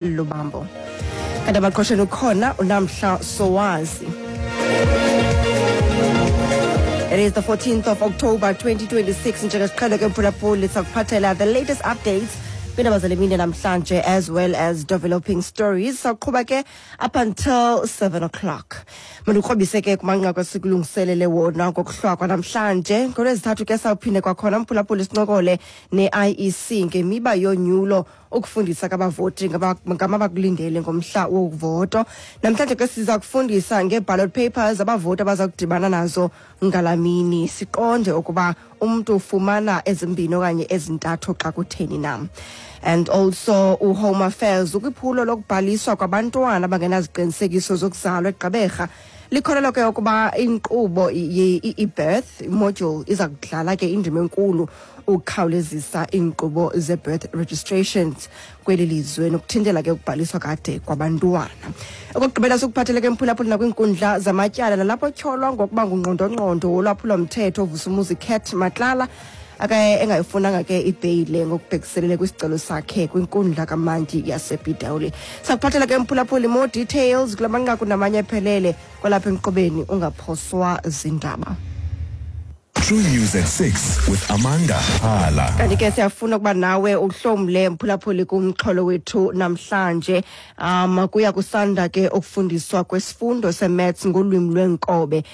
Lubambo. Kanti abaqosheni ukhona uNamhla Sowazi. It is the 14th of October 2026. Njengesiqhelo ke, mphulaphuli, sakuphathela the latest updates kwiindaba zale mini namhlanje as well as developing stories. Sawuqhuba ke up until 7 o'clock. Mandikrobise ke kumanqaku esikulungiselele wona ngokuhlwa kwanamhlanje. NgoLwezithathu ke sawuphinde kwakhona, mphulaphuli, sincokole ne-IEC ngemiba yonyulo, ukufundisa kabavoti ngamabakulindele ngomhla wovoto. Namhlanje ke siza kufundisa ngee-ballot papers abavoti abaza kudibana nazo ngalamini, siqonde ukuba umntu ufumana ezimbini okanye ezintathu xa kutheni na. And also uHome Affairs ukwiphulo lokubhaliswa kwabantwana abangenaziqinisekiso zokuzalwa eGqeberha. Likholelwa ke ukuba inkqubo i-birth module iza kudlala ke indima enkulu ukukhawulezisa iinkqubo ze-birth registrations kweli lizwe nokuthintela ke ukubhaliswa kade kwabantwana. Okokugqibela sikuphathele ke, mphulaphuli, nakwiinkundla zamatyala, nalapho tyholwa ngokuba ngungqondongqondo wolwaphulomthetho Vusumuzi Cat Matlala ake engayifunanga ke ibheyile ngokubhekiselele kwisicelo sakhe kwinkundla kamantyi yasePitoli. Sakuphathela ke, mphulaphuli, more details kula manqaku namanye ephelele kwalapha enkqubeni. Ungaphoswa zindaba. True News at 6 with Amanda Hala. Kanti ke siyafuna ukuba nawe uhlomle, mphulaphuli, kumxholo wethu namhlanje. Kuya kusanda ke ukufundiswa kwesifundo se-maths ngolwimi lwenkobe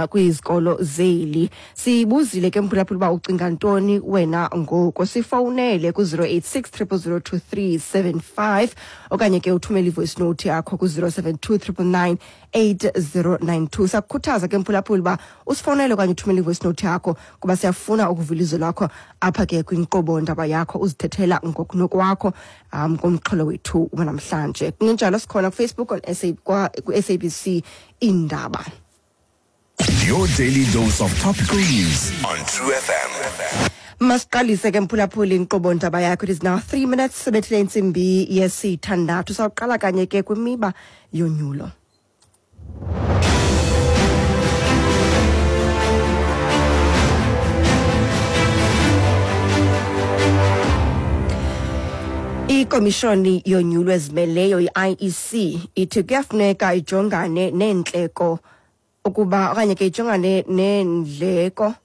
kwizikolo zeli. Sibuzile ke, mphulaphuli, uba ucinga ntoni wena ngoku. Sifowunele ku-086 0002375 okanye ke uthumele i-voice note yakho ku-072 999 8092. Siyakukhuthaza ke, mphulaphuli, uba usifowunele okanye uthumele i-voice note yakho kuba siyafuna ukuva ilizwi lakho apha ke kwinkqubo ndaba yakho, uzithethela ngokunokwakho kumxholo wethu wanamhlanje. Kungenjalo sikhona kuFacebook on SA, ku-SABC Indaba. Your daily dose of topical news on True FM. Masiqalise ke, mphulaphuli, inkqubo ndaba yakho. It is now 3 minutes sebethile intsimbi yesithandathu. Sawuqala kanye ke kwimiba yonyulo. Ikomishoni yonyulo ezimeleyo i-IEC ithi kuyafuneka ijongane neentleko ukuba okanye ke ijongane neendleko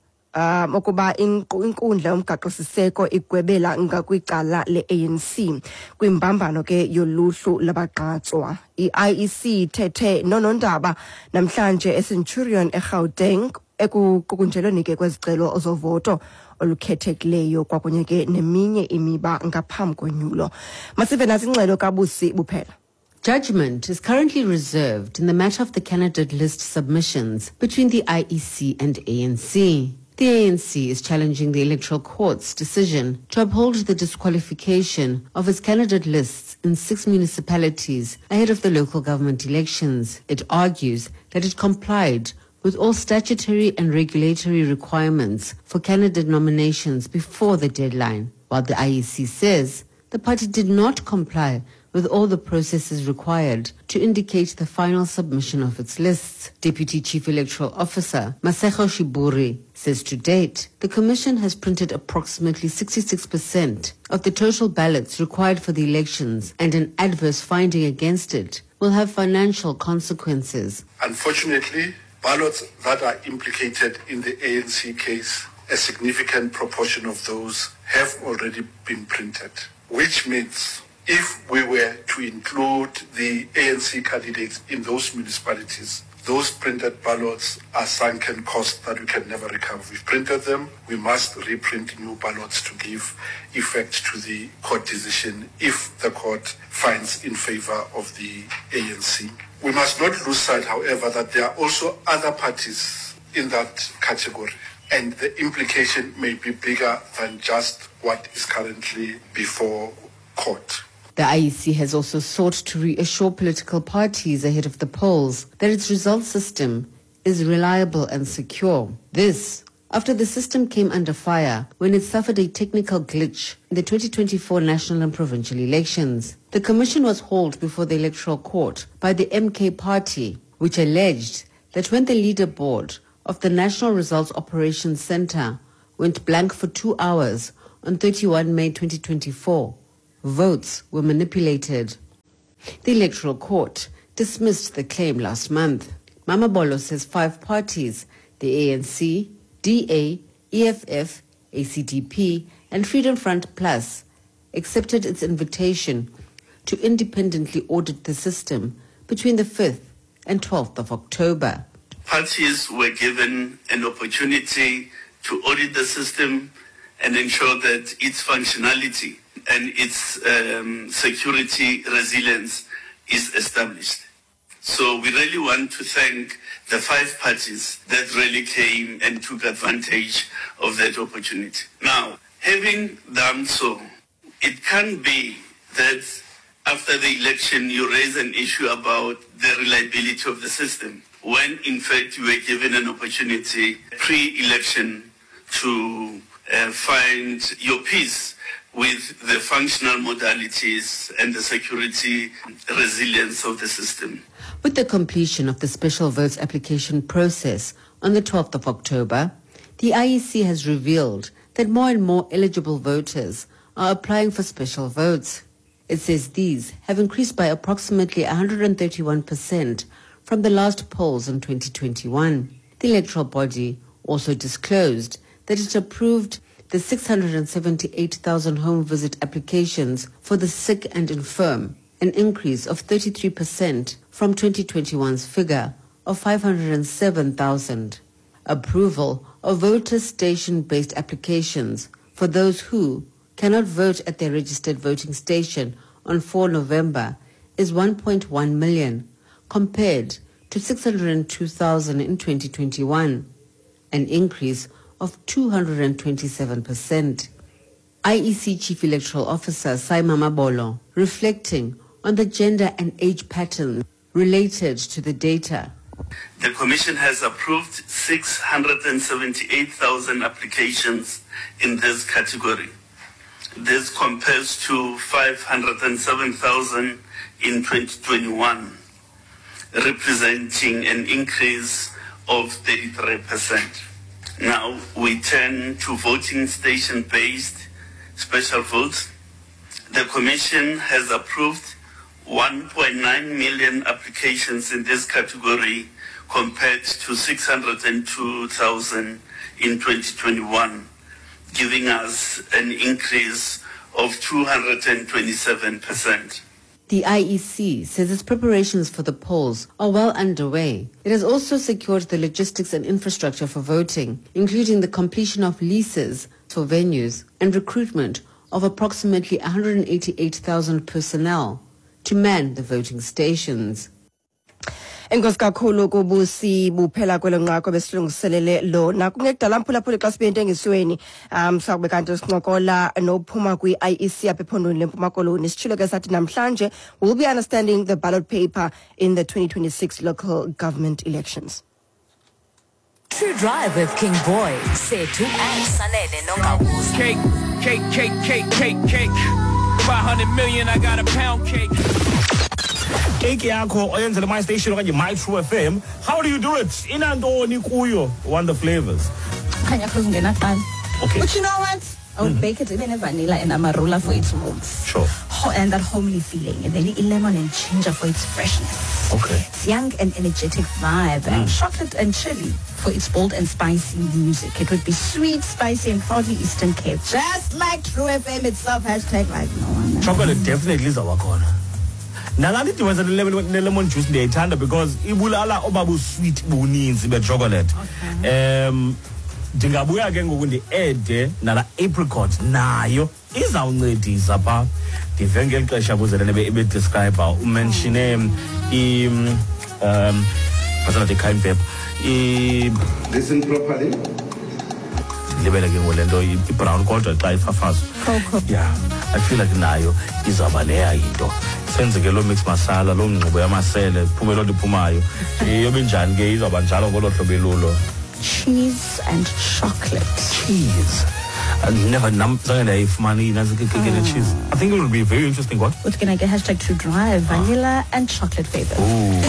ukuba inkundla yomgaqo-siseko igwebela ngakwicala le-ANC kwimbambano ke yoluhlu labagqatswa. I-IEC ithethe noonondaba namhlanje eCenturion eGauteng ekuqukunjelweni ke kwezicelo zovoto olukhethekileyo kwakunye ke neminye imiba ngaphambi konyulo. Masive nasi ingxelo kaBusi Buphela. Judgment is currently reserved in the matter of the candidate list submissions between the IEC and ANC. The ANC is challenging the Electoral Court's decision to uphold the disqualification of its candidate lists in six municipalities ahead of the local government elections. It argues that it complied with all statutory and regulatory requirements for candidate nominations before the deadline, while the IEC says the party did not comply with all the processes required to indicate the final submission of its lists. Deputy Chief Electoral Officer Masego Shiburi says to date, the Commission has printed approximately 66% of the total ballots required for the elections, and an adverse finding against it will have financial consequences. Unfortunately, ballots that are implicated in the ANC case, a significant proportion of those have already been printed, which means if we were to include the ANC candidates in those municipalities, those printed ballots are sunken costs that we can never recover. We've printed them, we must reprint new ballots to give effect to the court decision if the court finds in favor of the ANC. We must not lose sight, however, that there are also other parties in that category, and the implication may be bigger than just what is currently before court. The IEC has also sought to reassure political parties ahead of the polls that its results system is reliable and secure. This after the system came under fire when it suffered a technical glitch in the 2024 national and provincial elections. The commission was hauled before the Electoral Court by the MK Party, which alleged that when the leaderboard of the National Results Operations Center went blank for 2 hours on 31 May 2024, votes were manipulated. The Electoral Court dismissed the claim last month. Mamabolo says 5 parties, the ANC, DA, EFF, ACDP, and Freedom Front Plus, accepted its invitation to independently audit the system between the 5th and 12th of October. Parties were given an opportunity to audit the system and ensure that its functionality and its security resilience is established. So we really want to thank the 5 parties that really came and took advantage of that opportunity. Now, having done so, it can't be that after the election you raise an issue about the reliability of the system, when in fact you were given an opportunity pre-election to find your peace with the functional modalities and the security resilience of the system. With the completion of the special votes application process on the 12th of October, the IEC has revealed that more and more eligible voters are applying for special votes. It says these have increased by approximately 131% from the last polls in 2021. The electoral body also disclosed that it approved the 678,000 home visit applications for the sick and infirm, an increase of 33% from 2021's figure of 507,000. Approval of voter station-based applications for those who cannot vote at their registered voting station on 4 November is 1.1 million, compared to 602,000 in 2021, an increase of 227%. IEC Chief Electoral Officer Sy Mamabolo reflecting on the gender and age patterns related to the data. The Commission has approved 678,000 applications in this category. This compares to 507,000 in 2021, representing an increase of 33%. Now we turn to voting station-based special votes. The Commission has approved 1.9 million applications in this category compared to 602,000 in 2021, giving us an increase of 227%. The IEC says its preparations for the polls are well underway. It has also secured the logistics and infrastructure for voting, including the completion of leases for venues and recruitment of approximately 188,000 personnel to man the voting stations. Enkosi kakhulu kubusi buphela kwelo nqaku besilungiselele lona. Kungekudala mphulaphuli xa sibe entengisweni, sakube kanti sincokola nophuma kwi-IEC apha ephondweni leMpuma Koloni. Sitshilo ke sathi namhlanje we'll be understanding the ballot paper in the 2026 local government elections. True Drive with King Boy, Sethu and Sanele Nongawuza. Cake, cake, cake, cake, cake, cake. 500 million, I got a pound cake. Cake yakho oyenzele My Station okanye My True FM. How do you do it? Inantoni kuyo? One the flavors. Khanya Cruz ngena kuqala. Okay. But you know what? I would bake it even in vanilla and amarula for its warmth. Sure. And that homely feeling. And then lemon and ginger for its freshness. Okay. It's young and energetic vibe. And chocolate and chili for its bold and spicy music. It would be sweet, spicy, and proudly Eastern Cape. Just like True FM itself. Hashtag like no one. Chocolate definitely is our corner. Nalani dibanisa ne-lemon juice ndiyayithanda because ibulala obabu sweet buninzi be-chocolate. Ndingabuya ke ngoku ndi-ede nala apricot nayo izawuncedisa pha. Ndive ngeli xesha kuze le ebedescribe umenshine masanathi cayenne pepper. Listen properly. Ndilibele ke ngoku le nto i-brown kodwa xa ifafazwa. Yeah, I feel like nayo izawuba leya into. Senze ke loo mix masala, loo ngxubo yamasele, iphume loo nto iphumayo. Iyobe njani ke izawuba njalo ngolo hlobo elulo. Cheese and chocolate. Cheese. I never zange ndayifumana inantsi ke le cheese. I think it will be very interesting. What? What's gonna get hashtag True Drive, vanilla and chocolate flavors. Ooh.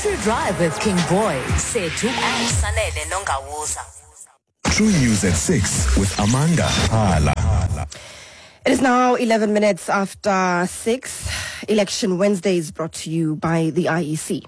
True Drive with King Boy, Sethu and Sanele Nongawuza. True News at 6 with Amanda Hala. It is now 11 minutes after 6. Election Wednesday is brought to you by the IEC.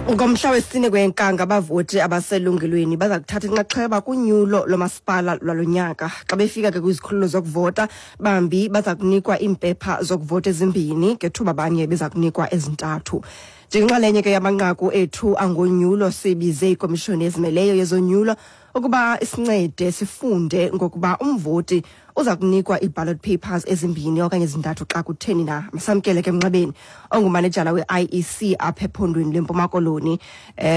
Ngomhla wesine kwenkanga, abavoti abaselungelweni baza kuthatha inxaxheba kunyulo lomasipala lwalo nyaka. Xa befika ke kwizikhululo zokuvota, bambi baza kunikwa iimpepha zokuvota ezimbini, ngethuba abanye beza kunikwa ezintathu. Njengenxalenye ke yamanqaku ethu angonyulo, sibize ikomishoni ezimeleyo yezonyulo ukuba isincede sifunde ngokuba umvoti uza kunikwa ii-ballot papers ezimbini okanye ezintathu xa kutheni na. Masamkele ke emnxebeni ongumanejala we-IEC apha ephondweni lweMpuma Koloni,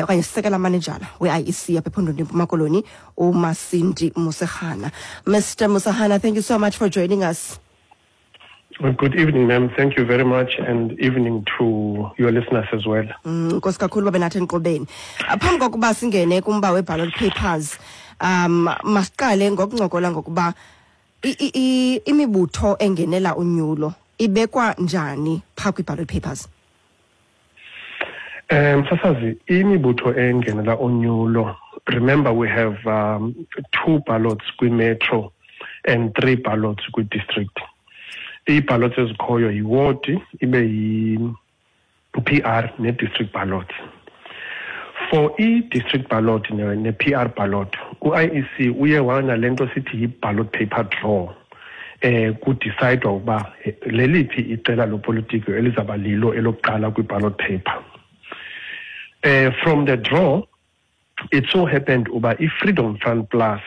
okanye sekela manejala we-IEC apha ephondweni lweMpuma Koloni, uMasindi Musehana. Mr Musehana, thank you so much for joining us. Well, good evening, ma'am. Thank you very much, and evening to your listeners as well. Nkosi kakhulu babe nathi enkqubeni. Phambi kokuba singene kumba we-ballot papers, masiqale ngokuncokola ngokuba imibutho engenela unyulo ibekwa njani phaa kwi-ballot papers? Sasazi, imibutho engenela unyulo, remember we have two ballots kwi-metro and three ballots kwi-district. Ii-ballots ezikhoyo yiwodi, ibe yi-PR ne-district ballot. For i-district ballot ne-PR ballot, u-IEC uye wanale nto sithi yi-ballot paper draw. Kudicayidwa ukuba leliphi iqela lopolitiko elizaba lilo elokuqala kwi-ballot paper. From the draw, it so happened uba i-Freedom Front Plus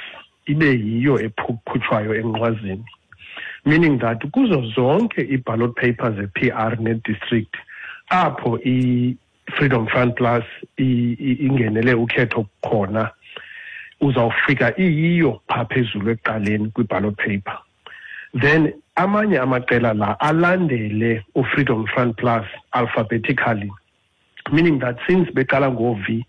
ibe yiyo ekhutshwayo enqwazini, meaning that kuzo zonke ii-ballot papers ze-PR ne-district apho i-Freedom Front Plus ingenele ukhetho khona, uzawufika iyiyo phaa phezulu ekuqaleni kwi-ballot paper. Then amanye amaqela la alandele u-Freedom Front Plus alphabetically, meaning that since beqala ngo-V,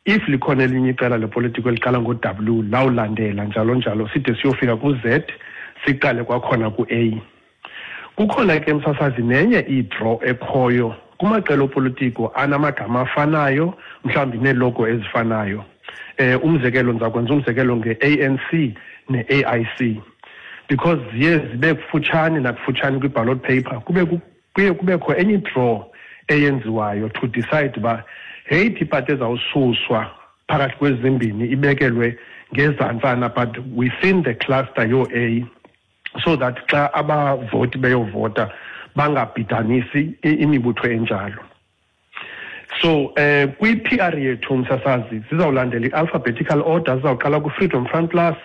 if likhona elinye iqela lepolitiko eliqala ngo-W, lawulandela njalo njalo side siyofika ku-Z, siqale kwakhona ku-A. Kukhona ke, msasazi, nenye i-draw ekhoyo kumaqela opolitiko anamagama afanayo, mhlawumbi neelogo ezifanayo. Umzekelo, ndiza kwenza umzekelo nge-ANC ne-AIC, because ziye zibe kufutshane nakufutshane kwi-ballot paper, kuye kubekho enye i-draw eyenziwayo to decide uba yeyiphi ipati ezawususwa phakathi kwezimbini ibekelwe ngezantsana, but within the cluster yoo-A, so that xa abavoti beyovota bangabhidanisi imibutho enjalo. So kwi-PR yethu, msasazi, zizawulandela i-alphabetical order. Zizawuqala ku-Freedom Front Plus,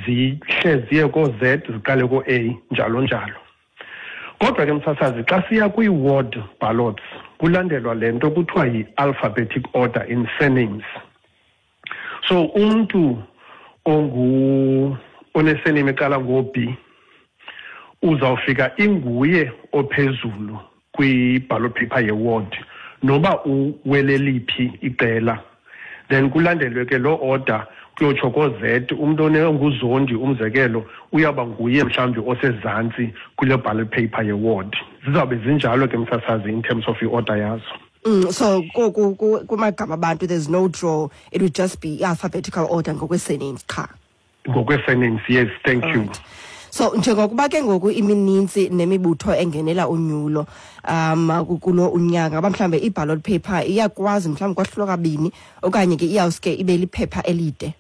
zihle ziye koo-Z, ziqale koo-A, njalo njalo. Kodwa ke, msasazi, xa siya kwii-ward ballots, kulandelwa le nto kuthiwa yi-alphabetic order in surnames. So umntu onesurname eqala ngo-B uzawufika inguye ophezulu kwi-ballot paper ye-ward, noba uweleliphi iqela. Then kulandelwe ke loo order kuyotsho koo-Z. Umntu onguZondi, umzekelo, uyawuba nguye mhlawumbi osezantsi kule ballot paper ye-ward. Zizawube zinjalo ke, msasazi, in terms of i-order yazo. So kumagama abantu there's no draw, it would just be alphabetical order ngokwe-surnames qha? Ngokwe-surnames, yes, thank you. So njengokuba ke ngoku iminintsi nemibutho engenela unyulo kulo unyaka, ngaba mhlawumbe i-ballot paper iyakwazi mhlawumbi kwahlulwa kabini, okanye ke iyawuske ibe liphepha elide?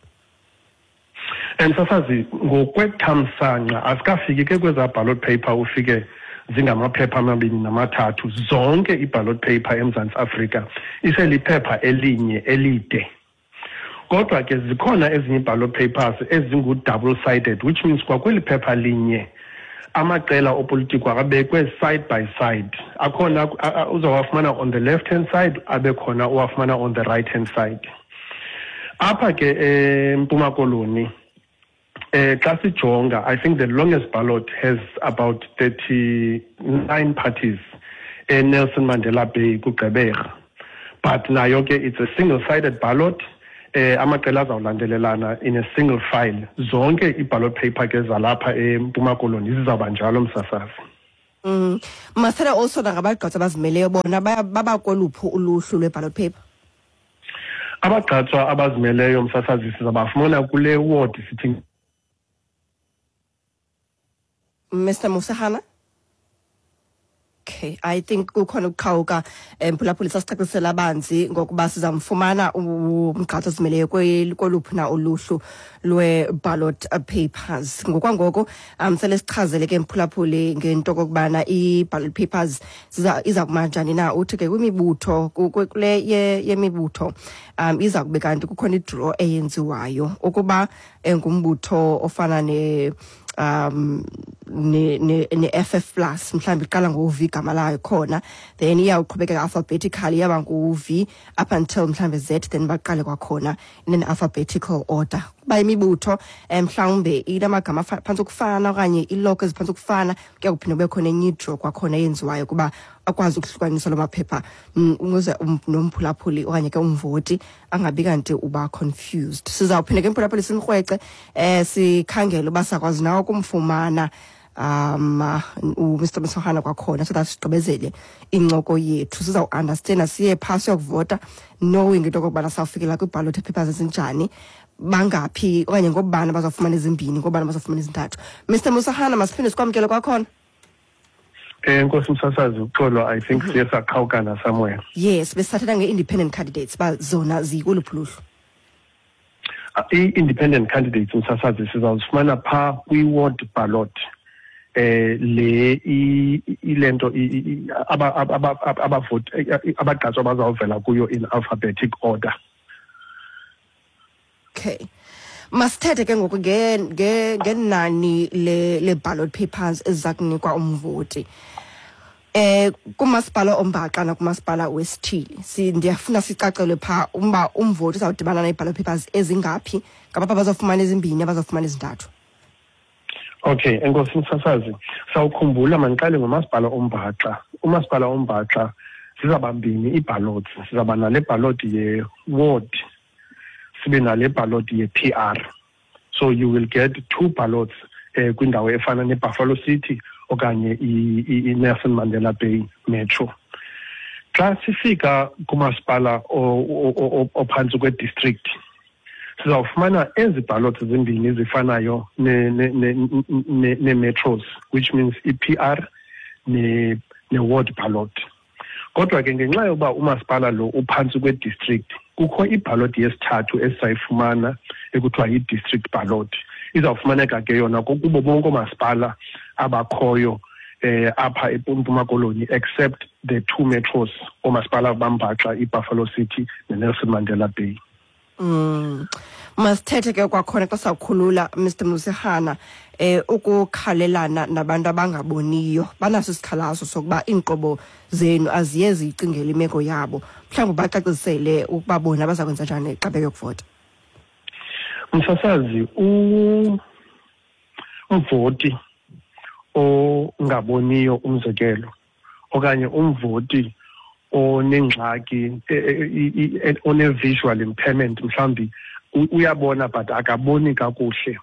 And sasazi, ngokwethamsanqa asikafiki ke kwezaa ballot paper ufike zingamaphepha amabini namathathu. Zonke ii-ballot paper eMzantsi Afrika iseliphepha elinye elide. Kodwa ke zikhona ezinye ii-ballot papers ezingu-double sided, which means kwakweli phepha linye amaqela opolitiko akabekwe side by side. Akhona uzawafumana on the left hand side, abe khona uwafumana on the right hand side. Apha ke eMpuma Koloni, xa sijonga, I think the longest ballot has about 39 parties eNelson Mandela Bay kuGqeberha, but nayo ke it's a single sided ballot. Amaqela azawulandelelana in a single file. Zonke ii-ballot paper ke zalapha eMpuma Koloni zizawuba njalo, msasazi. Masithethe also nangabagqatswa abazimeleyo, bona baba koluphi uluhlu lwe-ballot paper? Abagqatswa abazimeleyo, msasazi, sizabafumana kule ward sithi Mr Musahana? Okay, I think kukhona ukuqhawuka, mphulaphuli. Sasicacisela abanzi ngokuba sizamfumana umgqatso ozimeleyo koluphi na uluhlu lwe-ballot papers. Ngokwangoko sele sichazele ke, mphulaphuli, ngento okokubana i-ballot papers iza kuma njani na. Uthi ke kwimibutho, kule yemibutho iza kube kanti kukhona i-draw eyenziwayo ukuba ngumbutho ofana ne um ne ne ne-FF plus, mhlawumbi iqala ngo-V igama layo khona, then iyawuqhubekeka alphabetically, iyaba ngu-V up until mhlawumbi Z, then baqale kwakhona in an alphabetical order. Kuba imibutho mhlawumbe inamagama phantsi ukufana okanye iiloko eziphantsi ukufana, kuya kuphinda kube khona enye i-draw kwakhona eyenziwayo kuba akwazi ukuhlukanisa loo maphepha, ukuze nomphulaphuli okanye ke umvoti angabi kanti uba confused. Sizawuphinda ke, mphulaphuli, simkrwece, sikhangele uba sakwazi nawo ukumfumana uMr Msohana kwakhona, so that sigqibezele incoko yethu. Sizawuunderstanda siye phaa siyokuvota knowing into okokubana sawufikela kwii-ballot papers ezinjani, bangaphi okanye ngobani abazawufumana ezimbini, ngobani abazawufumana ezintathu. Mr Musahana, masiphinde sikwamkele kwakhona. Nkosi msasazi, uxolo, I think siye saqhawukana somewhere. Yes, besithathetha nge-independent candidates, ba zona zikuluphi luhlu? I-independent candidates, msasazi, sizawuzifumana phaa kwi-ward ballot. Le ilento abavoti abagqatswa bazawuvela kuyo in alphabetic order. Okay, masithethe ke ngoku ngenani le ballot papers eziza kunikwa umvoti kumasipala ombaxa nakumasipala wesithili. Ndiyafuna sicacelwe phaa umba umvoti uzawudibana nee-ballot papers ezingaphi, ngabapha bazawufumana ezimbini, abazawufumana ezintathu. Okay, enkosi msasazi. Sawukhumbula, mandiqale ngomasipala ombaxa. Umasipala ombaxa zizaba mbini ii-ballots. Sizaba nale ballot ye-ward, sibe nale ballot ye-PR. So you will get two ballots kwindawo efana neBuffalo City okanye i-Nelson Mandela Bay Metro. Xa sifika kumasipala ophantsi kwe-district, sizawufumana ezi ballots zimbini zifanayo ne-metros, which means i-PR ne-ward ballot. Kodwa ke ngenxa yokuba umasipala lo uphantsi kwe-district, kukho iballot yesithathu esizayifumana ekuthiwa yi-district ballot. Izawufumaneka ke yona kubo bonke oomasipala abakhoyo apha eMpuma Koloni, except the two metros, oomasipala bambaxa iBuffalo City neNelson Mandela Bay. Masithethe ke kwakhona xa sawukhulula, Mr Musihana, ukukhalelana nabantu abangaboniyo. Banaso isikhalazo sokuba iinkqubo zenu aziye ziyicingele imeko yabo. Mhlawumbi bacacisele ukuba bona baza kwenza njani xa beyokuvota. Msasazi, umvoti ongaboniyo, umzekelo, okanye umvoti onengxaki, one-visual impairment, mhlawumbi uyabona but akaboni kakuhle,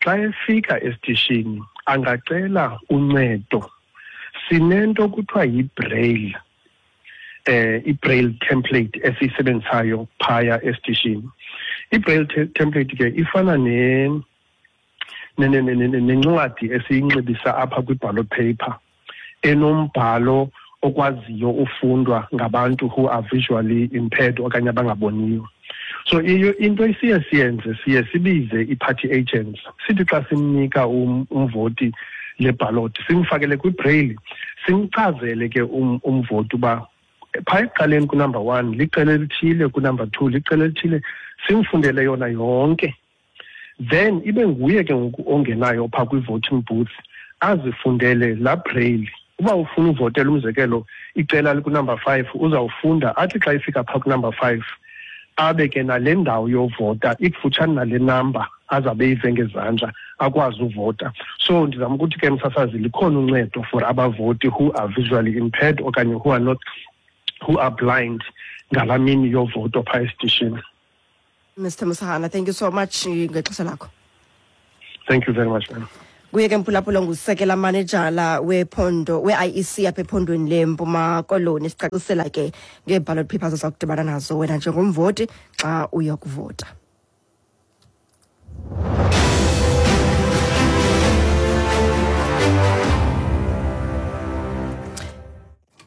xa efika esitishini angacela uncedo. Sinento kuthiwa yi-braille, i-braille template esiyisebenzisayo phaya esitishini. I-braille template ke ifana nencwadi esiyinxibisa apha kwi-ballot paper, enombhalo okwaziyo ufundwa ngabantu who are visually impaired okanye abangaboniyo. So iyo into esiye siyenze, siye sibize i-party agents, sithi xa simnika umvoti le ballot, simfakele kwi-braille, simchazele ke umvoti uba phaa ekuqaleni ku-number 1 liqela elithile, ku-number 2 liqela elithile, simfundele yona yonke. Then ibe nguye ke ngoku ongenayo phaa kwi-voting booth, azifundele laa braille. Uba ufuna uvotela, umzekelo, icela liku-number 5, uzawufunda athi xa ifika phaa ku-number 5, abe ke nale ndawo yovota ikufutshane nale number azabe eyive ngezandla, akwazi uvota. So ndizama ukuthi ke, msasazi, likhona uncedo for abavoti who are visually impaired okanye who are not, who are blind, ngalaa mini yovoto phaa esitishini. Mr Musahana, thank you so much ngexesha lakho. Thank you very much, ma'am. Kuye ke mphulaphula, ngusekela manejala wephondo we-IEC apha ephondweni leMpuma Koloni, sicacisela ke ngee-ballot papers oza kudibana nazo wena njengomvoti xa uyokuvota.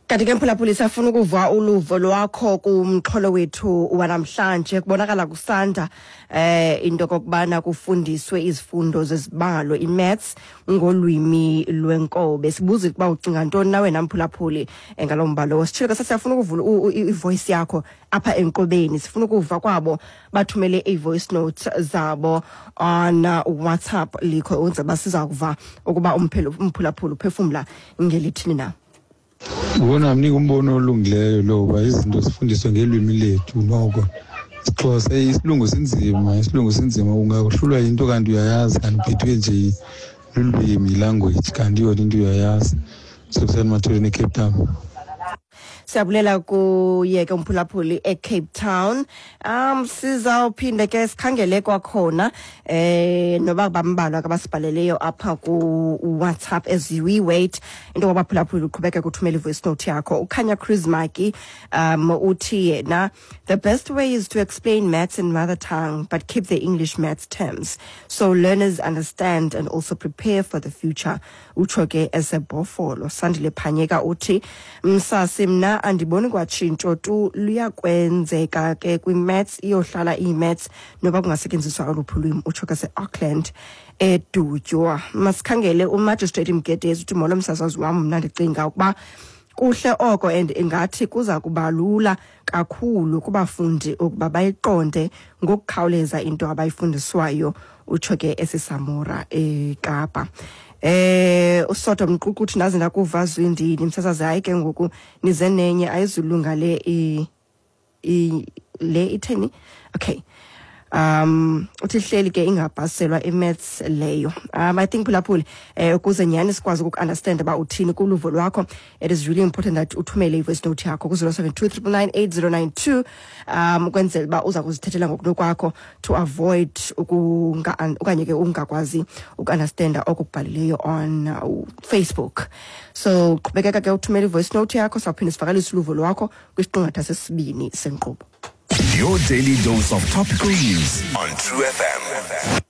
Kanti ke mphulaphuli, siyafuna ukuva uluvo lwakho kumxholo wethu wanamhlanje. Kubonakala kusanda into kokubana kufundiswe izifundo zezibalo, i-maths, ngolwimi lwenkobe. Sibuza ukuba ucinga ntoni na wena mphulaphuli ngalo mbalo. Sitshilo ke, siyafuna ukuvula i-voice yakho apha enkqubeni. Sifuna ukuva kwabo bathumele ii-voice notes zabo on WhatsApp likho, wenze uba siza kuva ukuba umphulaphuli uphefumla ngelithini na. Ubona, mnika umbono olungileyo lo, uba izinto zifundiswe ngelwimi lethu. Noko isiXhosa, isilungu sinzima, isilungu sinzima, ungahlulwa yinto kanti uyayazi, kanti uphethwe nje lulwimi, language, kanti yona into uyayazi. Sekuseni Mathuleni, eCape Town. Siyabulela kuye ke umphulaphuli eCape Town. Sizawuphinde ke sikhangele kwakhona noba bambalwa ke abasibhaleleyo apha ku WhatsApp as we wait into kwabaphulaphuli uqhubeke kuthumela i-voice note yakho. Ukhanya Chris Maki uthi yena, "The best way is to explain maths in mother tongue but keep the English maths terms so learners understand and also prepare for the future." Utsho ke esebhofolo. Sandile Phanyeka uthi, "Msasi, mna andiboni kwatshintsho tu luyakwenzeka ke kwi-maths, iyohlala iyi-maths noba kungasetyenziswa oluphi ulwimi." Utsho ke se-Auckland, eDutywa. Masikhangele uMagistrate Mgedezi, uthi, "Molo msasazi wam, mna ndicinga ukuba kuhle oko and ingathi kuza kuba lula kakhulu kubafundi ukuba bayiqonde ngokukhawuleza into abayifundiswayo." Utsho ke esiSamora, eKapa. Usoto Mququ uthi, "Ndaze ndakuva zwindini msasazi, hayi ke ngoku nize nenye, ayizulunga le le itheni." Okay, uthi hleli ke ingabhaselwa i-maths leyo. I think phulaphuli, ukuze nyhani sikwazi ukuku-understand uba uthini kuluvo lwakho, it is really important that uthumele i-voice note yakho ku-072 999 8092, ukwenzela uba uza kuzithethela ngokunokwakho, to avoid ukunga okanye ke ungakwazi uku-understanda oko kubhalileyo on Facebook. So qhubekeka ke uthumele i-voice note yakho, sawuphinde sivakalise uluvo lwakho kwisiqingatha sesibini senkqubo. Your daily dose of topical news on True FM.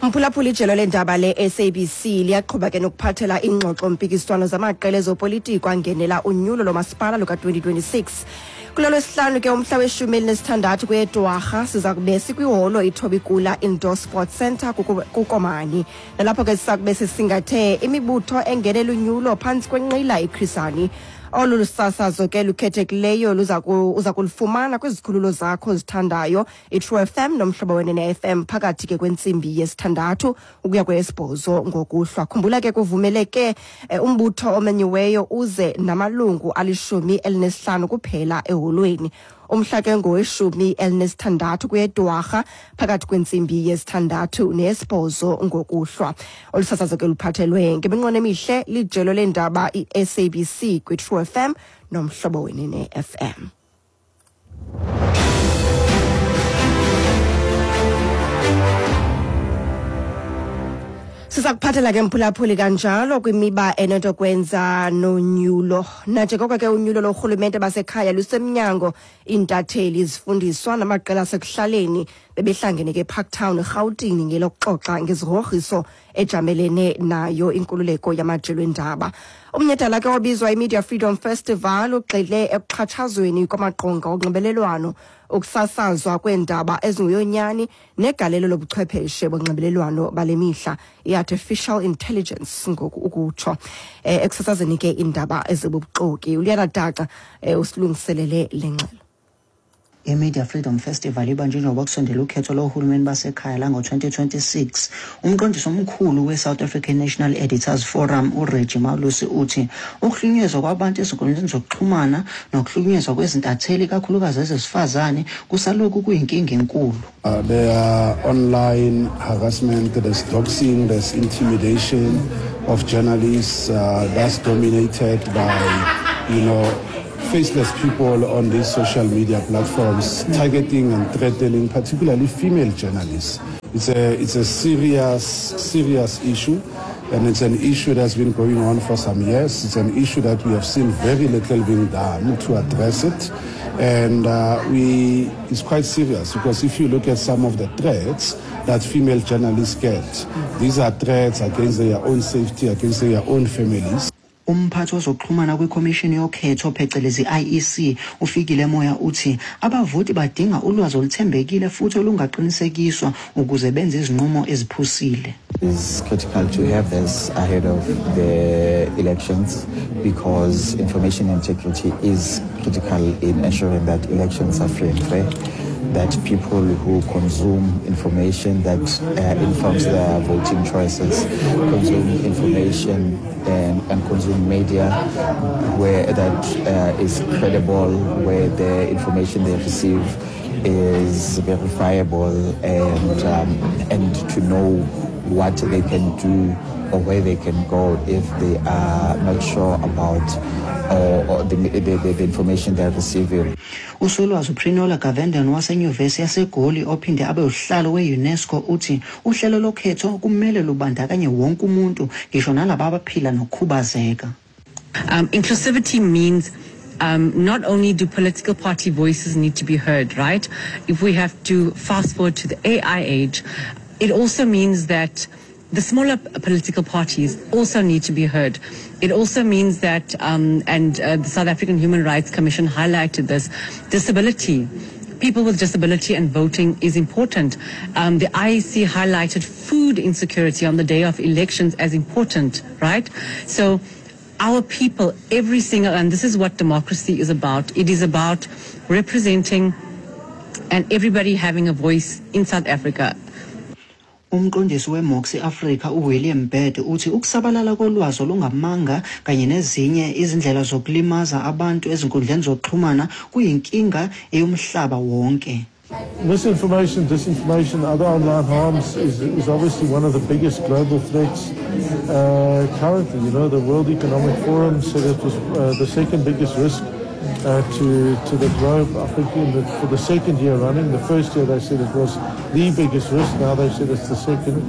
Mphulaphula, ijelo leendaba le-SABC liyaqhuba ke nokuphathela ingxoxo-mpikiswano zamaqela ezopolitiko angenela unyulo lomasipala luka-2026. Kulo lwesihlanu ke, umhla we-16 kweyeDwarha, siza kube sikwiholo iThobikula Indoor Sports Centre kuKomani, nalapho ke siza kube sisingathe imibutho engenela unyulo phantsi kwenqila iChris Hani. Olu lusasazo ke lukhethekileyo uza kulufumana kwizikhululo zakho zithandayo, iTrue FM noMhlobo Wenene FM, phakathi ke kwentsimbi yesithandathu ukuya kweyesibhozo ngokuhlwa. Khumbula ke, kuvumeleke umbutho omenyiweyo uze namalungu ali-15 kuphela eholweni. Umhla ke ngoweshumi elinesithandathu kweyeDwarha, phakathi kwentsimbi yesithandathu neyesibhozo ngokuhlwa. Olu sasazo ke luphathelwe ngeminqweno emihle lijelo leendaba i-SABC kwiTrue FM noMhlobo Wenene FM. Siza kuphathela ke mphulaphuli kanjalo kwimiba enento kwenza nonyulo, nanjengoko ke unyulo lorhulumente basekhaya lusemnyango, iintatheli, izifundiswa namaqela asekuhlaleni bebehlangene ke eParktown, eRhawutini, ngelokuxoxa ngezigrogriso ejamelene nayo inkululeko yamajelo endaba. Umnyhadala ke obizwa iMedia Freedom Festival ugxile ekuxhatshazweni kwamaqonga onxibelelwano, ukusasazwa kweendaba ezinguyonyani negalelo lobuchwepheshe bonxibelelwano bale mihla, i-artificial intelligence ngoku ukutsho, ekusasazeni ke iindaba ezibubuxoki. ULiyana Daca usilungiselele le ngxelo. I-Media Freedom Festival ibanjwe njengoba kusondela ukhetho lohulumeni basekhaya lango-2026. Umqondisi omkhulu we-South African National Editors Forum, uReggie Malusi, uthi ukuhlukunyezwa kwabantu ezinkundleni zokuxhumana nokuhlukunyezwa kwezintatheli, kakhulukazi ezesifazane, kusalokhu kuyinkinga enkulu. There are online harassment, there's doxing, there's intimidation of journalists that's dominated by faceless people on these social media platforms targeting and threatening particularly female journalists. It's a, it's a serious, serious issue, and it's an issue that's been going on for some years. It's an issue that we have seen very little being done to address it. And uh, we, it's quite serious because if you look at some of the threats that female journalists get, these are threats against their own safety, against their own families. Umphathi wezokuxhumana kwikhomishini yokhetho phecelezi IEC uFikile Moya uthi abavoti badinga ulwazi oluthembekile futhi olungaqinisekiswa ukuze benze izinqumo eziphusile. It's critical to have this ahead of the elections because information integrity is critical in ensuring that elections are free and fair, that people who consume information that uh, informs their voting choices consume information and, and consume media where that uh, is credible, where the information they receive is verifiable and, um, and to know what they can do or where they can go if they are not sure about or, or the, the, the, the information they're receiving. Usolwazi uPrinola Govenden waseNyuvesi yaseGoli ophinde abe usihlalo we-UNESCO uthi uhlelo lokhetho kumele lubandakanye wonke umuntu ngisho nalabo abaphila nokukhubazeka. Um, inclusivity means um, not only do political party voices need to be heard, right? If we have to fast forward to the AI age, it also means that the smaller political parties also need to be heard. It also means that, um, and uh, the South African Human Rights Commission highlighted this, disability people with disability and voting is important. Um, the IEC highlighted food insecurity on the day of elections as important, right? So our people, every single, and this is what democracy is about. It is about representing and everybody having a voice in South Africa. Umqondisi weMoxi Africa uWilliam Bird uthi ukusabalala kolwazi olungamanga kanye nezinye izindlela zokulimaza abantu ezinkundleni zokuxhumana kuyinkinga eyomhlaba wonke. Misinformation, disinformation, other online harms is, is obviously one of the biggest global threats uh, currently. You know, the World Economic Forum said it was uh, the second biggest risk uh, to, to the globe. I think in the, for the second year running, the first year they said it was the biggest risk. Now they said it's the second.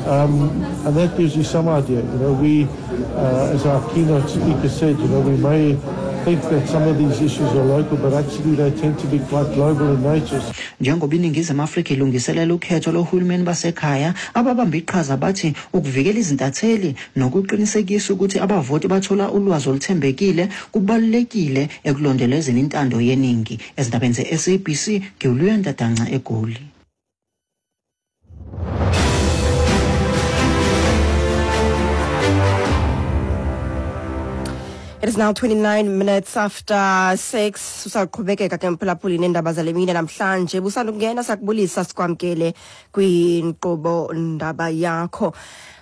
Um, and that gives you some idea. You know, we, uh, as our keynote speaker said, you know, we may think that some of these issues are local, but actually they tend to be quite global in nature. Njengoba iNingizimu Afrika ilungiselela ukhetho lohulumeni basekhaya, ababamba iqhaza bathi ukuvikela izintatheli nokuqinisekisa ukuthi abavoti bathola ulwazi oluthembekile kubalulekile ekulondolozeni intando yeningi. Ezindabeni ze-SABC, ngiwuluyanda Danca eGoli. It is now 29 minutes after 6. Usaqhubekeka ke mphulaphuli neendaba zale mini namhlanje. Busandukungena sakubulisa sikwamkele kwinkqubo ndaba yakho.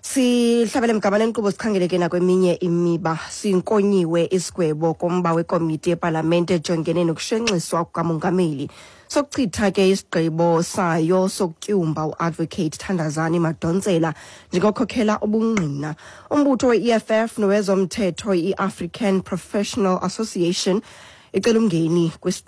Sihlabele mgama lenkqubo sikhangele ke nakweminye imiba. Sinkonyiwe isigwebo komba wekomiti yepalamente ejongene nokushenxiswa kukamongameli. Sokuchitha ke isigqibo sayo sokutyumba uadvocate Thandazani Madonsela njengokhokhela ubungqina. Umbutho we-EFF nowezomthetho i-African Professional Association icela umngeni kwesi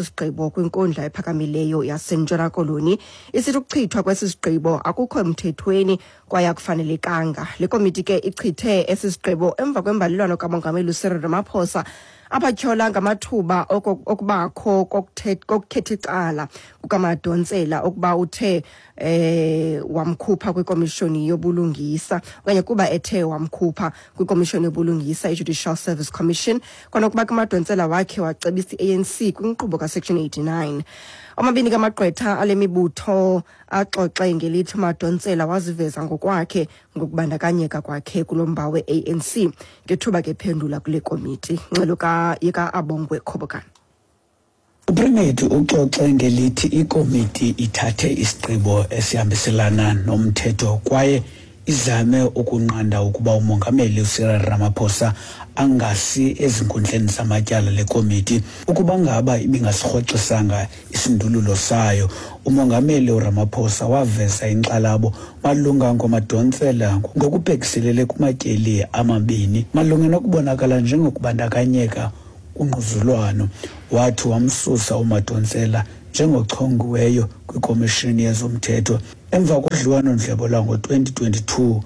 sigqibo kwinkundla ephakamileyo yaseNtshona Koloni isithi ukuchithwa kwesi sigqibo akukho mthethweni kwaye akufanelekanga. Le komiti ke ichithe esi sigqibo emva kwembalelwano kamongameli uCyril Ramaphosa abatyhola ngamathuba okubakho kokukhetha icala kukaMadonsela ukuba uthe eh wamkhupha kwikomishoni yobulungisa okanye kuba ethe wamkhupha kwikomishoni yobulungisa i-Judicial Service Commission kwanokuba kuMadonsela wakhe wacebisa i-ANC kwinkqubo kaSection 89. Omabini kamagqwetha ale mibutho axoxe ngelithi uMadonsela waziveza ngokwakhe ngokubandakanyeka kwakhe kulo mba we-ANC ngethuba ke phendula kule komiti. Ngxelo yeka-Abongwe Khobokane. UPrimate uxoxe ngelithi ikomiti ithathe isigqibo esihambiselana nomthetho kwaye izame ukunqanda ukuba umongameli uCyril Ramaphosa angasi ezinkundleni zamatyala le komiti ukuba ngaba ibingasirhoxisanga isindululo sayo. Umongameli uRamaphosa waveza inkxalabo malunga ngoMadonsela ngokubhekiselele kumatyeli amabini malunga nokubonakala njengokubandakanyeka kungquzulwano. Wathi wamsusa uMadonsela njengochongiweyo kwiKomishini yezoMthetho emva kodliwano-ndlebe lwango-2022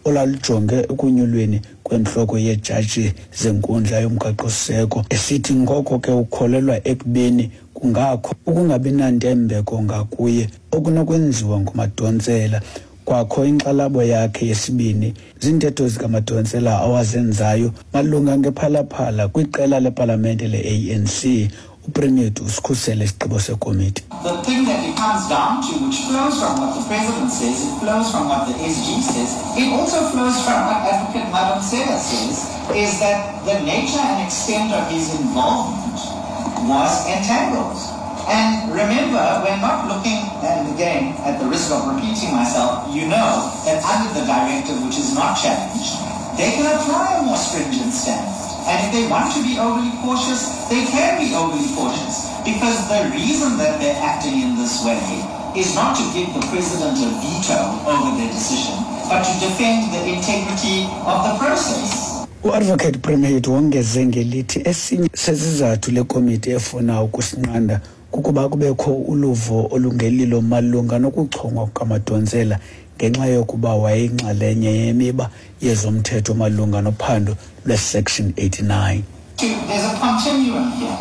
olwalujonge ekunyulweni kwentloko yeejaji zenkundla yomgaqo-siseko, esithi ngoko ke ukholelwa ekubeni kungakho ukungabinantembeko ngakuye okunokwenziwa nguMadonsela. Kwakho inkxalabo yakhe yesibini ziintetho zikaMadonsela awazenzayo malunga ngePhala Phala kwiqela lepalamente le-ANC. UPremit usikhusele isigqibo sekomiti. The thing that it comes down to, which flows from what the president says, it flows from what the SG says, it also flows from what Advocate Madonsela says, is that the nature and extent of his involvement was entangled. And remember, we're not looking, and again, at the risk of repeating myself, you know that under the directive, which is not challenged, they can apply a more stringent standard. And if they want to be overly cautious, they can be overly cautious. Because the reason that they're acting in this way is not to give the president a veto over their decision, but to defend the integrity of the process. U-Advocate Premhid wongeze ngelithi esinye sezizathu le komiti efuna ukusinqanda kukuba kubekho uluvo olungelilo malunga nokuchongwa kukaMadonsela ngenxa yokuba wayeyinxalenye yemiba yezomthetho malunga nophando lwe-Section 89. There's a continuum here.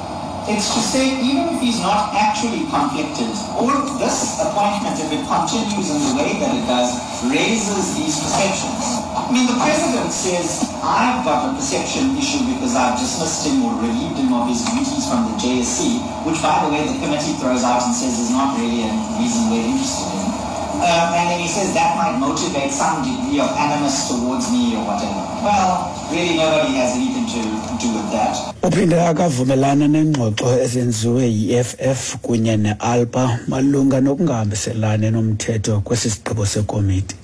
It's to say even if he's not actually conflicted, all of this appointment, if it continues in the way that it does, raises these perceptions. I mean, the president says, I've got a perception issue because I've dismissed him or relieved him of his duties from the JSC, which, by the way, the committee throws out and says is not really a reason we're interested in. And then he says that might motivate some degree of animus towards me or whatever. Well, really nobody has anything to do with that. Uphinde akavumelana nengxoxo ezenziwe yi-EFF kunye ne-ALPA malunga nokungahambiselani nomthetho kwesi sigqibo sekomiti.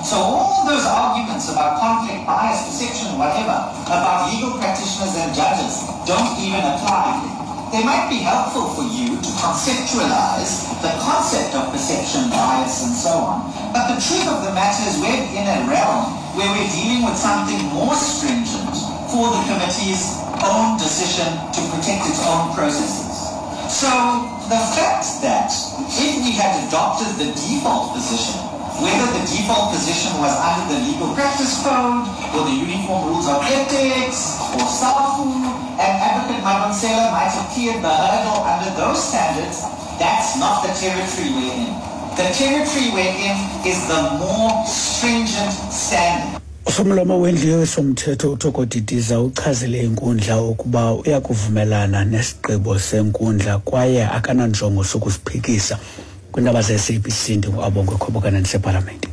So all those arguments about conflict, bias, perception, whatever, about legal practitioners and judges don't even apply here. They might be helpful for you to conceptualize the concept of perception, bias, and so on. But the truth of the matter is we're in a realm where we're dealing with something more stringent for the committee's own decision to protect its own processes. So the fact that if we had adopted the default position, whether the default position was under the Legal Practice Code or the Uniform Rules of Ethics or SAFU, and Advocate Madonsela might have cleared the hurdle under those standards, that's not the territory we're in. The territory we're in is the more stringent standard. Usomlomo wendlu yowesomthetho uThoko Didiza uchazile inkundla ukuba uyakuvumelana nesigqibo senkundla kwaye akananjongo sokusiphikisa. Kwindaba ze-SABC ndinguAbongwe Khobokana ndisepalamente.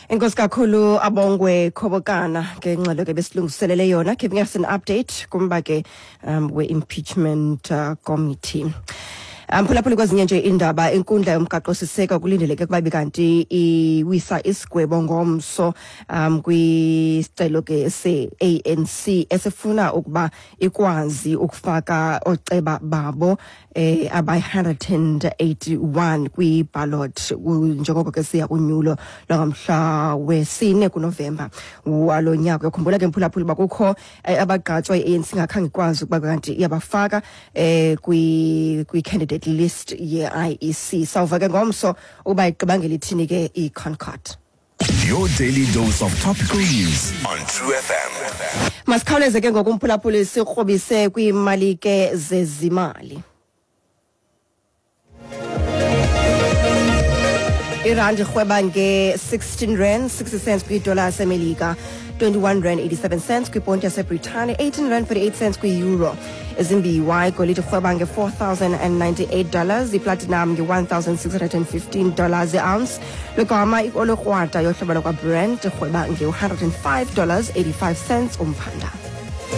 Enkosi kakhulu, Abongwe Khobokana, ngengxelo ke besilungiselele yona, giving us an update kumba ke we-impeachment committee. Mphulaphuli, kwezinye nje indaba, inkundla yomgaqo-siseko kulindeleke ukuba ibe kanti iwisa isigwebo ngomso kwisicelo ke se-ANC esifuna ukuba ikwazi ukufaka ooceba babo abayi-181 kwi-ballot njengoko ke siya kunyulo lwangamhla wesine kuNovemba walo nyaka. Uyakhumbula ke, mphulaphuli, uba kukho abagqatswa i-ANC ingakhange ikwazi ukuba kanti iyabafaka kwi-candidate list ye-IEC. Sawuva ke ngomso ukuba igqiba ngelithini ke i-ConCourt. Your daily dose of topical news on True FM. Masikhawuleze ke ngoku, umphulaphuli, sikrobise kwiimali ke zezimali. Irandi irhweba nge-16 rand 60 cents kwidola yaseMelika, 21 rand 87 cents kwiponti yaseBritane, 18 rand 48 cents kwi-euro. Ezimbiwa, igolide irhweba nge-$4,098, iplatinum nge-$1,615 i-ounce, logama ioli krwada yohlobo lwakwaBrent irhweba nge-$105 85 cents umphanda.